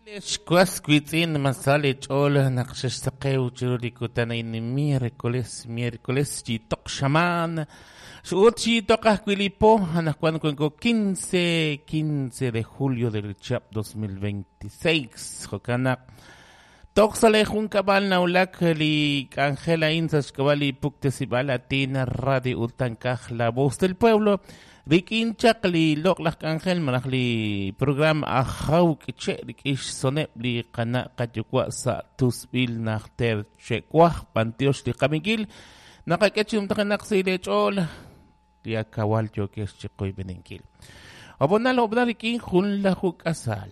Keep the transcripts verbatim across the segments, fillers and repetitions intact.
Xwas wiitz'in masal ch'ool naq xexsaqew chiru li kutan a'in miércoles miércoles xyitoq xamaan ut xyitoq ajwi' li po anaqwan wanko quince quince de julio del chihab' dos mil veintiséis jo'kan naq toj sa' le junkab'al nawulak li k'anjel a'in sa' xk'ab'a' li puktesib'al Latina Radio Utankaj La Voz del Pueblo rik'in chaq li loq'laj k'anjel malaj li programa Ajaw K'iche' rik'in xsoneb' li qana' qayuwa' sa' tusb'il najter che'waj b'antiox li qaminkil naqak'e chi numtajenaq sa' li ch'ool li akawal yookex chi qoyb'eninkil obonal obonal rik'in jun laju k'asal.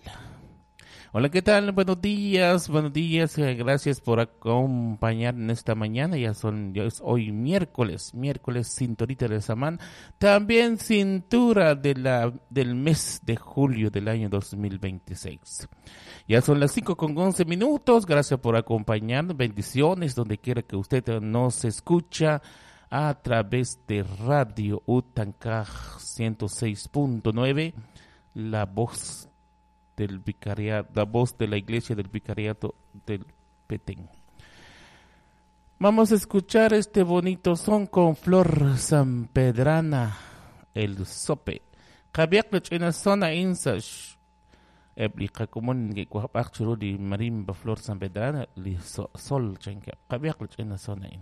Hola, ¿qué tal? Buenos días, buenos días. Gracias por acompañar en esta mañana. Ya son, ya es hoy miércoles, miércoles cinturita de Samán. También cintura de la, del mes de julio del año dos mil veintiséis. Ya son las cinco con once minutos. Gracias por acompañarnos. Bendiciones donde quiera que usted nos escucha a través de Radio Utankaj ciento seis punto nueve, la voz del vicariato, la voz de la iglesia del vicariato del Petén. Vamos a escuchar este bonito son con Flor Sampedrana, el sope. Qabiaq lach'ina zona insa ebli qakumun ngekwajb'aq churu li marimba Flor Sampedrana li sol chanka. Qabiaq lach'ina zona in.